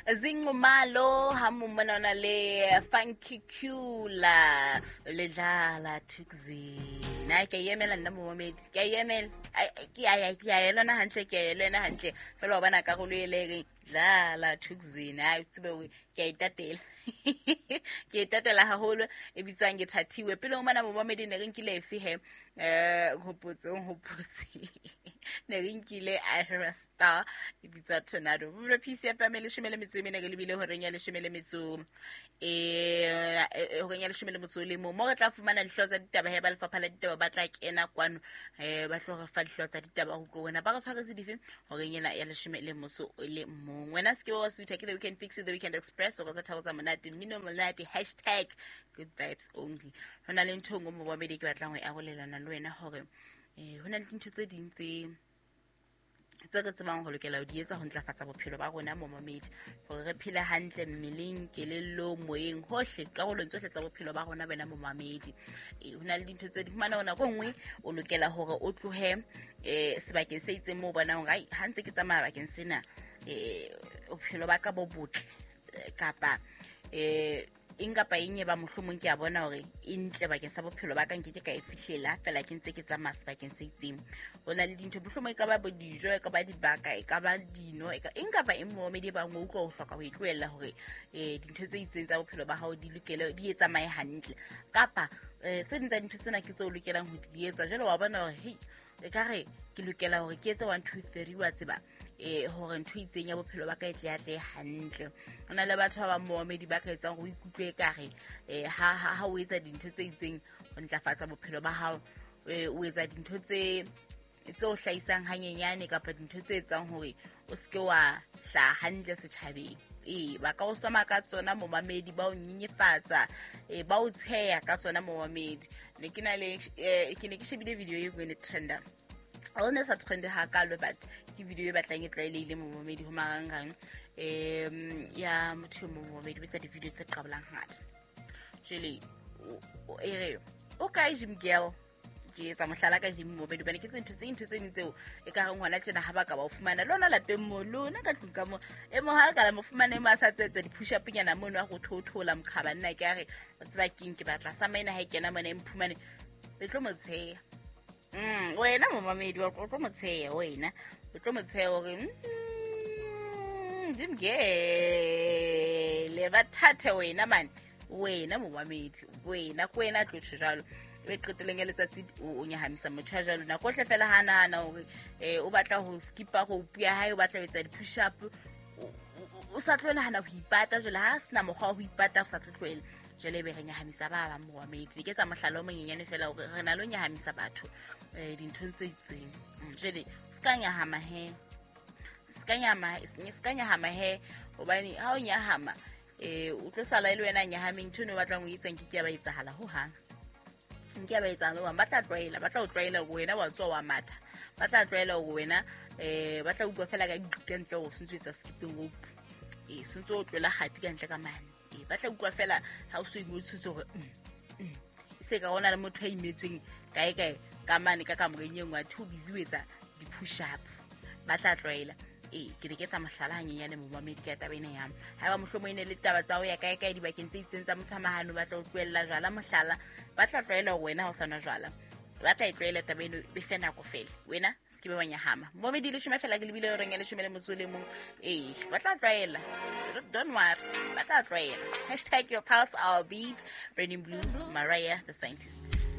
Zingumalo ha mona ona le Funky Cula le dlala Thukzin. Ai ke yemela nna momamedi, ke a emela. Ke a ke a elona hantle, ke a elona hantle. Fela wa bona karolo e le reng dlala Thukzin. Ai tsebe hore ke a itatela. Ke itatela haholo e bitswang ke Thathiwe. Pele o mana momamedi ne re nkile efe he? Hopotse hopotse. Ne re nkile Ira Star e bitswa Tornado. Bophelo PCFM 14 re lebile horeng ya 10 le metso horeng ya 11 le mo re tla fumana dihlooho tsa ditaba he ba lefapha la ditaba ba tla kena kwano ba tlo re fa dihlooho tsa ditaba ho ko wena ba re tshwaretse dife horeng ena ya 11. Wena se ke wa sutha ke The Weekend Fix, The Weekend Express o re tsa thabo tsa monate mmino monate hashtag good vibes only. Ho na le ntho e nngwe mo babedi ke batlang ho e arolelana le wena hore ho na le dintho tse ding tse re tsebang ho lokela ho di etsa ho ntlafatsa bophelo ba rona momamedi hore re phele hantle mmeleng, kelellong, moyeng, hohle karolong tsohle tsa bophelo ba rona wena momamedi. Ho na le dintho tse di fumana hore nako e nngwe o lokela hore o tlohe sebakeng se itseng moo o bonang hore ai ha ntse ke tsamaya bakeng sena bophelo ba ka bo botle kapa eng kapa eng e ba mohlomong ke a bona hore e ntle bakeng sa bophelo ba ka nke ke ka e fihlela fela ke ntse ke tsamaya sebakeng se itseng. Ho na le dintho mohlomong e ka ba bo dijo, e ka ba dibaka, e ka ba dino, e ka eng kapa eng momamedi e bang o utlwa o hloka ho e tlohella hore dintho tse itseng tsa bophelo ba hao di lokele di e tsamaye hantle kapa tse ding tsa dintho tsena ke tseo o lokelang ho di etsa. Jwale wa bona hore hei e ka re ke lokela hore ke etse 1 2 3 wa tseba hore ntho e itseng ya bophelo ba ka e tle atle hantle. Ho na le batho ba bang momamedi ba ka etsang hore o ikutlwe ekare ha o etsa dintho tse itseng ho ntlafatsa bophelo ba hao, o etsa dintho tse o hlahisang hanyenyane kapa dintho tse etsang hore o seke wa hlaha hantle setjhabeng. Ba ka o soma ka tsona momamedi, ba o nyenyefatsa, ba o tsheya ka tsona momamedi. Ne ke na le ke ne ke shebile video e nngwe ne trenda. O ne sa trende hakalo but ke video e batlang e tlwaelehile momamedi ho marangrang ya motho e mong momamedi o etsa di-video tse qabolang hangata. Jwale e re o kae gym girl? Ke etsa mohlala ka gym momamedi hobane ke tse ntho tse ding tseo e ka reng hona tjena ha ba ka ba o fumana lona lapeng mo lona ka tlung ka mo e mo ha ka la mo fumana e mo a sa tsetsa di-push up nyana mono a go thoothola mokhaba nna ke a re o tseba keng ke batla sa maina ha e kena mona e mphumane le tlo mo tsheya. Wena momamedi o tlo mo tsheya wena o tlo mo tsheya hore gym girl ba thathe wena man wena momamedi wena ko wena tlo tjho jwalo. E qetelong ya letsatsi o nyahamisa motho ya jwalo nako ohle fela ha nahana hore o batla ho skipa rope ya hae, o batla ho etsa di-push up, o sa tlo nahana ho ipata jwale ha sena mokgwa wa ho ipata o sa tlo tlohela. Jwale ebe re nyahamisa ba bang momamedi. Ke etsa mohlala o monyenyane fela hore re na le ho nyahamisa batho dinthong tse itseng. Jwale o ska nyahama he, ska nyahama he hobane ha o nyahama o tlo sala e le wena nyahameng ntho eno o batlang ho etsa nke ke ya ba etsahala hohang. Nke ya ba etsahala hohang. Ba tla tlwaela, ba tla o tlwaela hore wena wa tswa wa matha. Ba tla tlwaela hore wena ba tla utlwa fela ka ka ntle hore o sentse o etsa skipping rope. Sentse o tlola kgati ka ntle ka mane. Ba tla utlwa fela ha o so ingotshitse hore se ka hona le motho a imetsweng kae kae ka mane ka kamoreng e nngwe athe o busy o etsa di-push up. Ba tla tlwaela. Ke ne ke etsa mohlala hanyenyane momamedi ka taba ena ya haeba mohlomong e ne le taba tsa ho ya kae kae dibakeng tse itseng tsa motho a mahano ba tla o tlohella jwala mohlala, ba tla tlwaela hore wena ha o sa nwa jwala. Ba tla e tlwaela taba eno e fe nako fela wena se ke be wa nyahama. Momamedi 10 fela ke lebile horeng ya 11. Ba tla tlwaela, don't worry, ba tla tlwaela. Hashtag your pulse our beat. Burning Blue, Mariah the Scientist.